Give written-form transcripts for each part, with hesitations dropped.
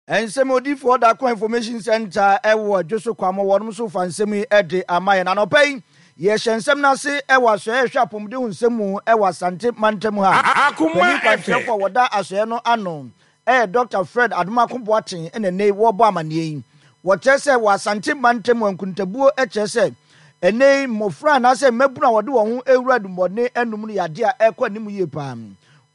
Nsɛm Odiyifoɔ Darko Information Centre wɔ Adwoso Kwamo wɔnom nso fa nsɛm yi de ama yɛn. Anɔpa yi, yɛhyɛ nsɛm no ase wɔ asoɛeɛ a ɛhwɛ apɔmuden ho nsɛm mu wɔ Asante mantam ha. Panin kwankyerɛfoɔ a wɔda asoɛeɛ no ano yɛ Dɔkta Fred Adomako Boateng na ɛnnɛ yi wɔrebɔ amanneɛ yi. Wɔkyerɛ sɛ wɔ Asante mantam mu nkontabuo kyerɛ sɛ ɛnnɛ yi mmɔfra anaasɛ mmabunu a wɔde wɔn ho rewura adubɔne anom no yɛ adeɛ a ɛrekɔ anim yie paa.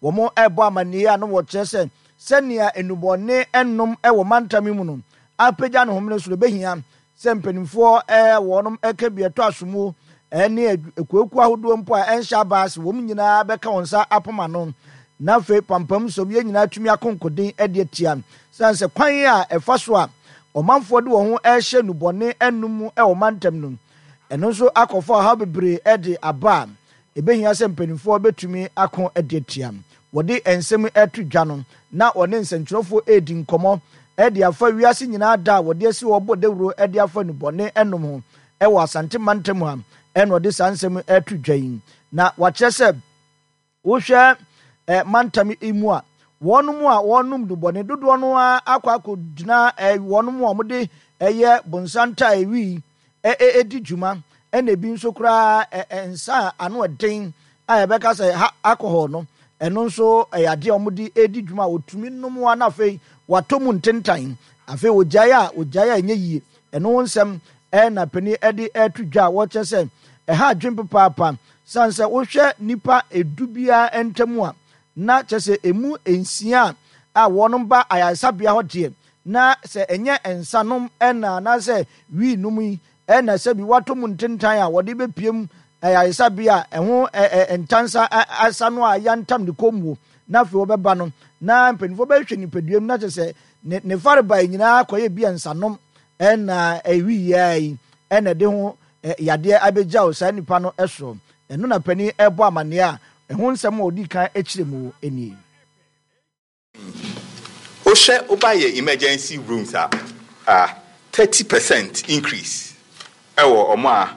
Wɔrebɔ amanneɛ a na wɔkyerɛ sɛ Sɛnea nnubɔne nom wɔ mantam yi mu no apagya ne homene so no, ebehia sɛ mpanimfoɔ a wɔnom ka bi ɛtɔ asomuo ne akuokuo ahodoɔ mpo a ɛnhyɛ aban ase wɔn nyinaa bɛka wɔn nsa apam ano na afei pampam nso yɛn nyinaa atumi ako nkoden de atia. Sane sɛ kwan a ɛfa so a ɔmanfoɔ de wɔn ho rehyɛ nnubɔne nom mu wɔ mantam no, ɛno nso akɔfa ɔhaw bebree de aba a Ebehia sɛ mpanimfoɔ betumi ako de atia. Wɔde nsɛm yi reto dwa no, na wɔne nsɛnkyerɛwfoɔ redi nkɔmmɔ de afa wiase nyinaa da a wɔde asi hɔ bɔ dawuro de afa nnubɔne nom ho wɔ Asante mantam ha na wɔde saa nsɛm yi reto dwa yi. Na wɔakyerɛ sɛ wohwɛ mantam yi mu a, wɔnom a wɔnom nnubɔne dodoɔ no ara akɔ akɔgyina wɔnom a wɔde ɛyɛ bonsantae wii di dwuma, ɛna ebi nso koraa nsa a ano ɛden a yɛbɛka sɛ ha alcohol no, ɛno nso ɛyɛ adeɛ a wɔde di dwuma a wɔtumi nom a na afei wɔatɔ mu ntentan, afei wɔgyae a wɔgyae a ɛnyɛ yie. Ɛno ho nsɛm ɛna panin ɛde ɛto dwa a wɔkyerɛ sɛ ɛha adwene papaapa, sane sɛ wohwɛ nnipa edu biara ntam a na kyerɛ sɛ emu nsia a wɔnom ba ayaresabea hɔ deɛ Na sɛ ɛnyɛ nsa nom na anaasɛ wii nom yi na sɛbi wɔatɔ mu ntentan a wɔde bɛpiem ayaresabea a ɛho ntansa asa no a yantam ne kɔn muo na afei wɔbɛba no na mpanimfoɔ bɛhwɛ nipadua mu na kyerɛ sɛ ne ne farebae nyinaa kɔyɛ bi a nsa nom na wii yi na ɛde ho yadeɛ abɛgyaw saa nipa no soɔ. Ɛno na panin ɛrebɔ amanneɛ a ɛho nsɛm a ɔdii kan kyerɛ mu nie. Wohwɛ woba yɛ emergency rooms a, a 30% increase ɛwɔ ɔmo a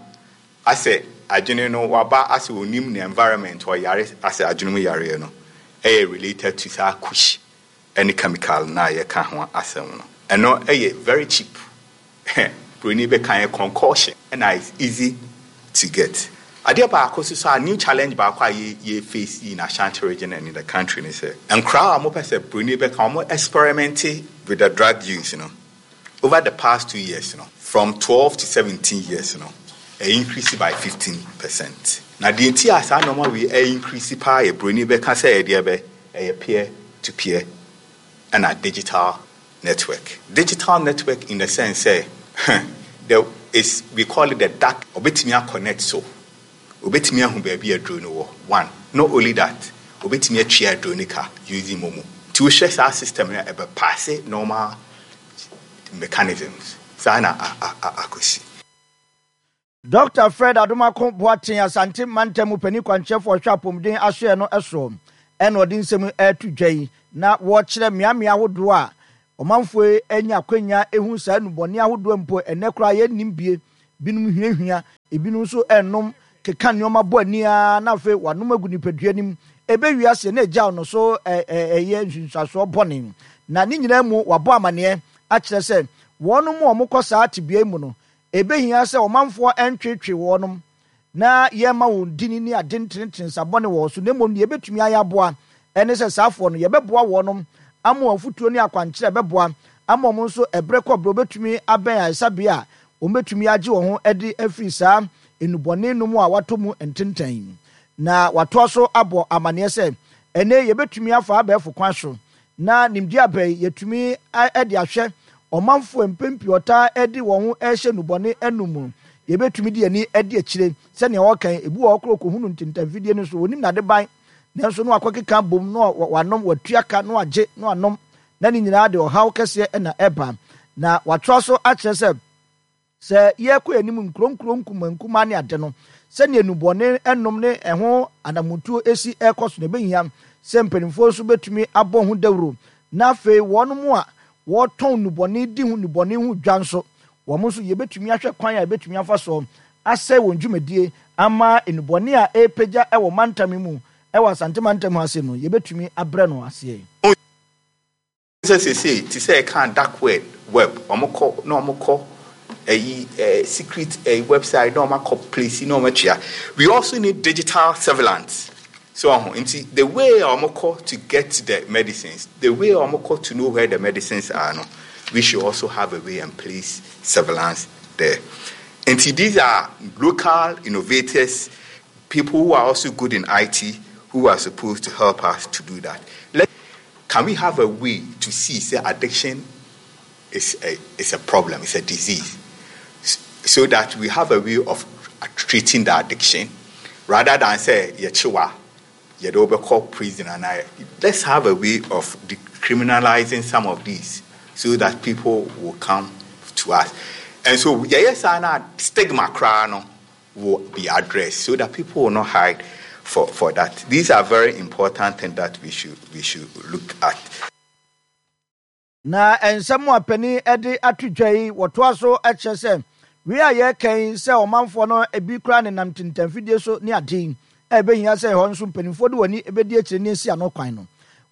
asɛ adwene no waba asɛ onim ne environment ɔyare asɛ adwene mu yareɛ no ɛyɛ related to saa kush ɛne chemical no a yɛka ho asɛm no. Ɛno ɛyɛ very cheap. Broni bɛka yɛ concoction ɛna it's easy to get. Adeɛ baako nso so a new challenge baako a yɛ yɛ face in Ashanti region and in the country ne sɛ nkoraa a wɔpɛ sɛ broni bɛka wɔn experimente with the drug use no over the past 2 years no, from 12 to 17 years no, ɛ increase by 15%. Na deɛ nti a saa nneɛma wei ɛ increase paa yɛ broni bɛka sɛ ɛdeɛ bɛ ɛyɛ peer to peer ɛna digital network. Digital network in the sense sɛ there is, we call it the dark, obetumi aconnect so obetumi ahu baabi aduro no wɔ one. Not only that, obetumi atua aduro no ka using MoMo. Nti wohwɛ saa system no a, ɛbɛ pass normal mechanisms saa na akɔsi. Dɔkta Fred Adomako Boateng, Asante Mantam mu panin kwankyerɛfo a ɔhwɛ apɔmuden asoɛe no soɔ na ɔde nsɛm yi reto dwa yi na wɔrekyerɛ mmeammea ahodoɔ a ɔmanfoɔ yi anya akwanya hu saa nnubɔne ahodoɔ mpo ɛnnɛ koraa yɛnnim bie, binom hwiahwia, ebinom nso renom keka nneɛma bɔ ani ara na afei wɔanom agu nipadua no mu, ɛbɛwie aseɛ na ɛgyaw no so ɛyɛ nsunsuansoɔ bɔne. Na ne nyinaa mu wɔabɔ amaneɛ akyerɛ sɛ wɔnom a wɔkɔ saa tebea yi mu no Ebehia sɛ ɔmanfoɔ ntweetwee wɔnom na yɛmma wɔn dini ne ade ntenetene nsa bɔne wɔ so, na mmom deɛ yɛbɛtumi ayɛ aboa ne sɛ saa afoɔ no yɛbɛboa wɔnom ama wɔn afutuo ne akwankyerɛ bɛboa ama wɔn nso ɛberɛ kɔ berɛ wɔbɛtumi abɛn ayaresabea a wɔbɛtumi agye wɔn ho adi afiri saa nnubɔne nom a wɔatɔ mu ntentan yi. Na wɔatoa so abɔ amaneɛ sɛ ɛnnɛ yi yɛbɛtumi afa abɛɛfo kwan so Na nimdeɛ aba yi, yɛatumi de ahwɛ ɔmanfoɔ a mpɛn pii wɔtaa de wɔn ho rehyɛ nnubɔne nom mu no. Yɛbɛtumi de yɛn ani adi akyire. Sɛdeɛ wɔka yi, ebi wɔ hɔ koraa ɔkɔhunu ntentanfidie no so, ɔnnim n'adeban, nanso na wakɔkeka abom na wanom, watua ka na wagye na wanom, na ne nyinaa de ɔhaw kɛseɛ na ɛba. Na watoa so akyerɛ sɛ, Sɛ yɛrekɔ yɛn anim nkuro nkuro nkumaa nkumaa ne ade no, sɛdeɛ nnubɔne nom ne ɛho anammɔntuo si rekɔ so no, ɛbɛhia sɛ mpanimfoɔ nso bɛtumi abɔ ho dawuro, na afei wɔn a wɔtɔn nnubɔne di ho nnubɔne ho dwa nso, wɔn nso yɛbɛtumi ahwɛ kwan a yɛbɛtumi afa soɔ asɛe wɔn dwumadie ama nnubɔne a ɛrepagya wɔ mantam yi mu wɔ Asante mantam ha ase no, yɛbɛtumi abrɛ no aseɛ. Sɛ seesei te sɛ ɛka dark web, ɔmo kɔ na ɔmo kɔ ɛyi secret website na ɔmo akɔ place na ɔmo atua. We also need digital surveillance. So ɔho nti the way a ɔmo kɔ to get the medicines, the way a ɔmo kɔ to know where the medicines are no, we should also have a way and place surveillance there. Nti these are local innovators, people who are also good in IT, who are supposed to help us to do that. Can we have a way to see, say, addiction is a problem, it's a disease, so that we have a way of treating the addiction rather than say, yɛkyewa, yɛde wobɛkɔ prison and I, let's have a way of decriminalizing some of these so that people will come to us. And so, yɛyɛ saa na stigma koraa no will be addressed so that people will not hide for that. These are very important things that we should look at. Na nsɛm a panin de ato dwa yi, wɔtoa so kyerɛ sɛ wei a yɛreka yi sɛ ɔmanfoɔ no ebi koraa nenam ntentanfidie so ne ade yi a ɛbɛhia sɛ ɛhɔ nso mpanimfoɔ de wɔn ani bɛdi akyire ne asi ano kwan no,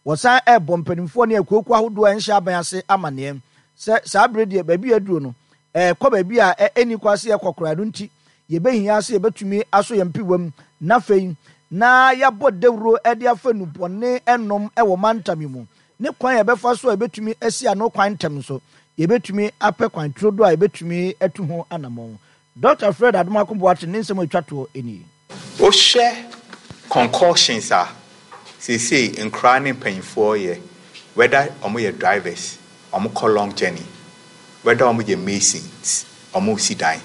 wɔsan ɛrebɔ mpanimfoɔ ne akuokuo ahodoɔ a ɛnhyɛ aban ase amanneɛ sɛ saa bere deɛ, baabi a aduro no ɛrekɔ, baabi a ɛnni kwan sɛ yɛkɔ koraa no nti, yɛbɛhia sɛ yɛbɛtumi aso yɛn piwam na afei na yɛabɔ dawuro de afa nnubɔne nom wɔ mantam yi mu ne kwan a yɛbɛfa so a yɛbɛtumi asi ano kwan ntɛm nso, yɛbɛtumi apɛ kwan turodo a yɛbɛtumi atu ho anammɔn. Dr. Fred Adomako Boateng ne nsɛm a ɛtwa toɔ nie. Wohwɛ concussions a seesei nkoraa ne mpanyinfoɔ yɛ, whether ɔmo yɛ drivers, ɔmo kɔ long journey, whether ɔmo yɛ masons, ɔmo si dan,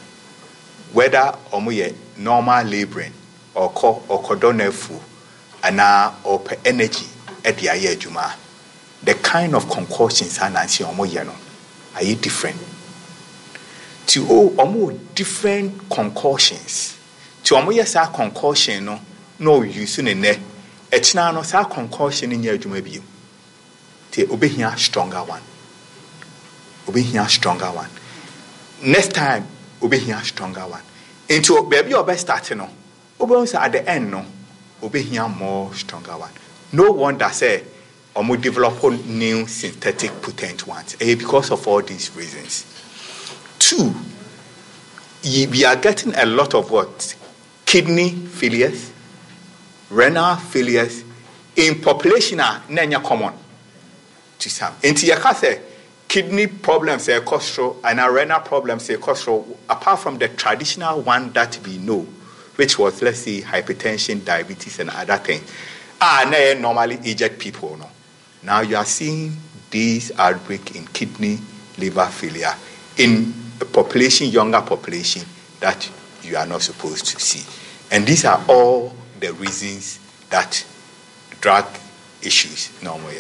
whether ɔmo yɛ normal labouring, ɔkɔ ɔkɔdɔ n'afuo anaa ɔpɛ energy ɛde ayɛ adwuma, the kind of concussions a nansi ɔmo yɛ no ayɛ different. Ti o, ɔmo wɔ different concussions. Ti ɔmo yɛ saa concussion no na ɔuse ne nɛ ɛkyina no, saa concussion no nyɛ adwuma bio. Ti obehia stronger one, obehia stronger one next time, obehia stronger one. Nti baabi a ɔbɛ start no, wobɛhu sɛ at the end no obehia more stronger one. No wonder sɛ ɔmo develop new synthetic potent ones. Ɛyɛ because of all these reasons. Two, we are getting a lot of what? Kidney failures, renal failures in population a na ɛnyɛ common to some. Nti yɛka sɛ kidney problems ɛkɔ soro and renal problems ɛkɔ soro, apart from the traditional one that we know, which was, let's say, hypertension, diabetes and other things ah, na ɛyɛ normally aged people no, now you are seeing these outbreak in kidney, liver failure in a population, younger population that you are not supposed to see. And these are all the reasons that drug issues normally.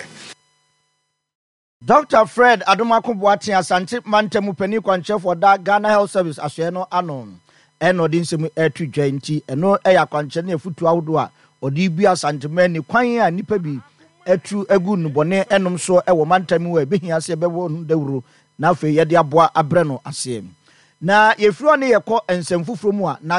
Dr. Fred Adomako Boateng, Asante mantam panin kwankyerɛfoɔ da Ghana Health Service asoɛ no ano, ɛna ɔde nsɛm ɛto dwa. Nti ɛno ɛyɛ akwankyerɛ ne afutuo ahodoɔ a ɔde bi Asanteman ne kwan a nnipa bi atu agu nnubɔne ɛnom so ɛwɔ mantam mu a ɛbɛhia sɛ ɛbɛwɔ no dawuro na afei yɛde aboa abrɛ no aseɛ. Na yɛfiri hɔ ne yɛkɔ nsɛm foforɔ mu a na